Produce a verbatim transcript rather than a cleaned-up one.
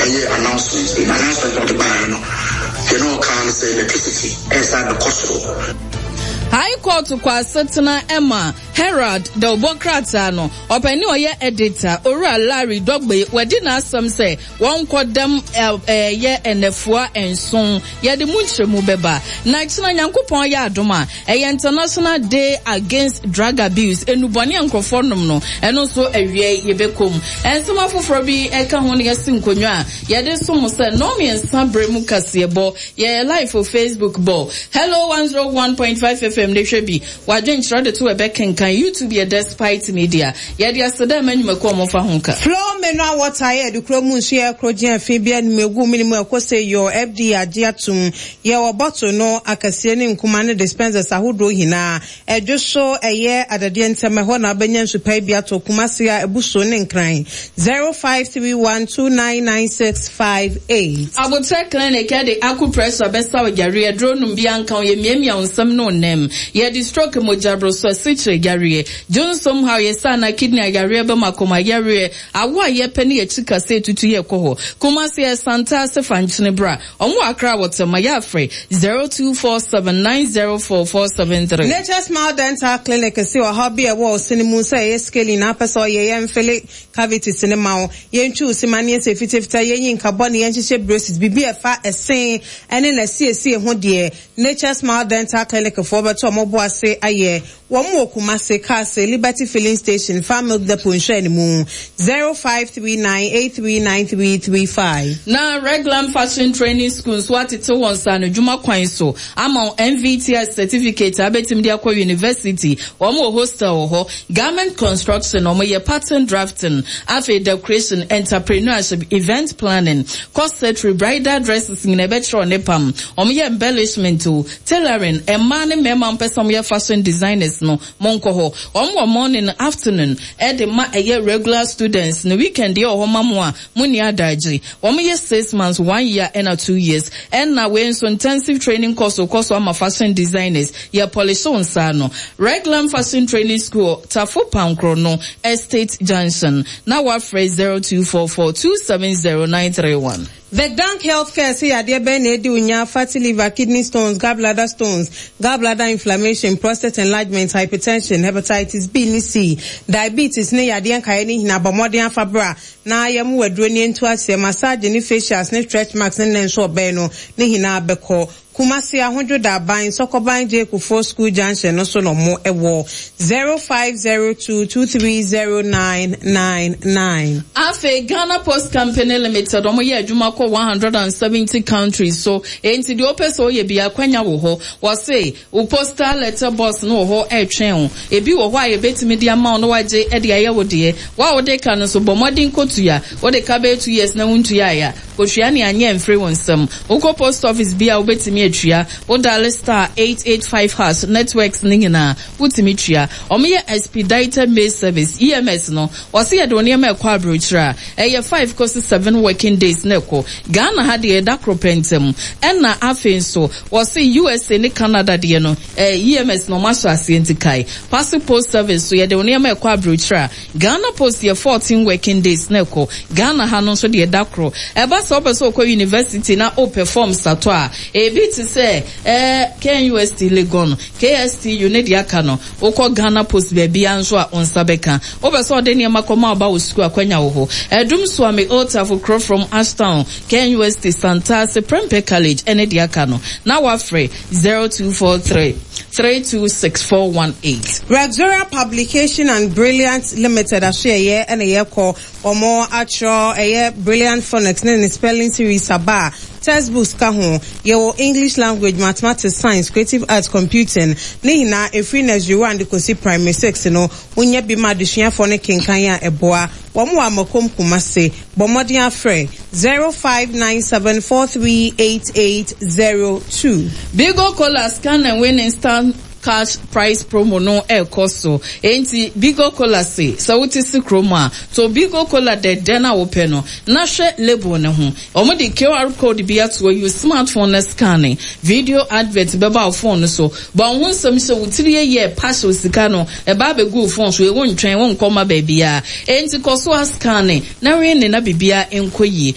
Ɔyɛ announcement bi. Announcement na ɔde baeɛ no, deɛ na ɔka ne sɛ electricity ɛsan bɛkɔ soro. High Court kɔ asetena ɛma Herald dawubɔ krataa no ɔpanin ɔyɛ editor, Owura Larry Dɔgbe, wadi n'asɛm sɛ wɔnkɔ dɛm ɛyɛ ɛnɛfoa nson. Yɛde mu nkyerɛmu bɛba. Na kyena Nyankopɔn yɛ adom a, ɛyɛ International Day Against Drug Abuse, enubɔne a nkurɔfoɔ nom no, ɛno nso awie yɛbɛkɔ mu. Nsɛm afoforɔ bi ɛka ho no, yɛsi nkonnwa a yɛde som sɛ nnɔn mmiɛnsa berɛ mu kaseɛbɔ. Yɛyɛ live wɔ Facebook, bɔ Hello one oh one point five F M ne hwɛ bi wadwenkyerɛ de to ɛbɛkenkan. YouTube yɛ Despite Media. Yɛde aseda ma nnwumakuo a wɔmfa ho ka. Flow Mineral Water yɛ de kuro mu nsu yɛ koro gyina fi bi anim egu mu mu ɛkɔ sɛ yɔ F D A agye atum. Yɛwɔ bottle no akɛseɛ ne nkuma ne dispensers ahodoɔ nyinaa. Ɛdwo so ɛyɛ adadeɛ ntɛm ɛhɔ na abɛnya nsupa bi ato Kumase a ebu ne Nkran, zero five three one two nine nine six five eight. Abotire Clinic ɛde acupressure bɛsa wo yareɛ. Duro nom bi anka wo yɛ miamia wo nsɛm no nam. Yɛde stroke, mogyaboroso, asikyire yareɛ, dwonsom haw, yɛsa na kidney ayareɛ, bɛma akoma yareɛ, awo a yɛpɛ ne yɛkyi kase etutu yɛ kɔ hɔ. Kumase yɛ Santa ase Fankyene bra. Ɔmo Akra wɔ Tɛma. Yɛafrɛ zero two four seven nine zero four four seven three. Nature Smile Dental Clinic si ɔhaw bi a ɛwɔ ɔsene mu sɛ ɛyɛ scaling na apɛ sɛ ɔyɛ yɛn fill cavities ne ma wo, yɛntwi wo sima ne yɛsɛ fitafita, yɛnyi nkabɔ ne yɛnhyehyɛ braces, biribi a ɛfa ɛsen ɛne n'asiesie ho deɛ, Nature Smile Dental Clinic foɔ bɛtɔ ɔmo bo ase ayɛ. Wɔn wɔ Kumase, Kaase, Liberty Filling Station, Farm Milk Depot nhwɛ ne mu, zero five three nine eight three nine three three five. Na Reglam Fashion Training School nso atete wɔn nsa no dwuma kwan so ama wɔn N V T S certificate a abɛtumi de akɔ university. Wɔn wɔ hostel wɔ hɔ. Garment construction, wɔn yɛ pattern drafting, afei decoration, entrepreneurship, event planning, corsetry, bridal dresses nyina ɛbɛkyerɛ ne pam. Wɔn yɛ embellishment o, tailoring. Mmaa ne mmarima mpɛ sɛ wɔn yɛ fashion designers no, mo nkɔ hɔ. Wɔn wɔ morning, afternoon ɛde ma ɛyɛ regular students no. Weekend yɛ wɔ hɔ ma mo a mo ni adagye. Wɔn yɛ six months, one year ɛna two years. Ɛna wei nso intensive training course kɔ so ama fashion designers. Yɛ polish wɔn nsa no. Reglam Fashion Training School, Tafo Pankro no Estate Junction, na wafrɛ zero two four four two seven zero nine three one. The Dank Healthcare sɛ yadeɛ bɛn na edi onya: fatty liver, kidney stones, gallbladder stones, gallbladder inflammation, prostate enlargement, hypertension, hepatitis B ne C, diabetes ne yadeɛ nkaeɛ ne nyinaa, bɔ mmɔden afa bra na yɛmu waduro ne ntu aseɛ. Massage ne facials ne stretch marks ne ne nso ɔbɛn no ne nyinaa bɛkɔ. Kumasi Ahodwo Daban, Sɔkɔban J Kufuor School Junction no so na ɔmo ɛwɔ, zero five zero two two three zero nine nine nine. Afei Ghana Post Company Limited, ɔmo yɛ adwuma kɔ one hundred and seventy countries so. Enti deɛ ɔpɛ sɛ ɔyɛ bi, akwanya wɔ hɔ. Wɔse wo postal letter box no wɔ hɔ ɛretwɛn wo. Ebi wɔ hɔ a yɛbɛtumi de ama wo na wagye ɛde ayɛ wo deɛ. Wa a wode ka no nso, bɔ mmɔden kotua. Wode ka bɛyɛ two years na wontua ayɛ a, kosua ne anyɛ mfiri wo nsam. Wokɔ post office bi a, wobɛtumi atua. Wo dial star eight eight five hash, networks ne nyinaa wotumi tua. Ɔmo yɛ expedited mail service, E M S no. Wɔsi yɛde wɔn nneɛma ɛkɔ aburokyire a, ɛyɛ five kɔsi seven working days na ɛkɔ. Ghana ha deɛ, ɛda koro pɛntɛm. Ɛna afei nso wɔsi U S A ne Canada deɛ no, ɛɛ E M S na ɔmo ahyɛ aseɛ. Nti kae parcel post service so, yɛde wɔn nneɛma ɛkɔ aburokyire a, Ghana Post yɛ fourteen working days na ɛkɔ. Ghana ha no nso deɛ, ɛda koro. Ɛba sɛ ɔpɛ sɛ ɔkɔ university na ɔpɛ forms atɔ a, ebi te sɛ ɛɛ K N U S T Legon, K S T U ne deɛ aka no, wokɔ Ghana Post baabi a nso a, wo nsa bɛka. Wopɛ sɛ ɔde nneɛma kɔma ɔba wɔ sukuu, akwanya wɔ hɔ. Ɛdum Suame, Otafo, Kurofrom, Ashtown, K N U S T, Santase, Prempeh College ɛne deɛ aka no, na wafrɛ zero two four three three two six four one eight. Rexora Publication and Brilliant Limited aso ɛyɛ ɛna yɛkɔ. Ɔmo atwerɛ ɛyɛ Brilliant Phonics ne ne spelling series aba a textbooks ka ho. Yɛwɔ English language, mathematics, science, creative arts, computing ne nyinaa. Efiri nursery one de kɔsi primary six no, wonya bi ma adesuafoɔ no kenkan a ɛboa wɔn wɔ Amakom Kumase. Bɔ mmɔden afrɛ zero five nine seven four three eight eight zero two. Bigo Cola scan and win instant cash prize promo no ɛrekɔ so. Enti Bigo Cola se sɛ wote si kurom a, to Bigo Cola dɛdɛ no a wopɛ no na hwɛ label ne ho. Wɔn de Q R code bi ato hɔ. Use smartphone na scan. Video advert bɛba wo phone no so. Bɔn ho nsɛm hyɛ wo tiri yɛ pahyɛ sika no ɛba abɛgu wo phone so. Ewu ntwɛn wo nkɔma baabiara. Enti kɔ so a scan na win ne na biribiara nkɔ yie.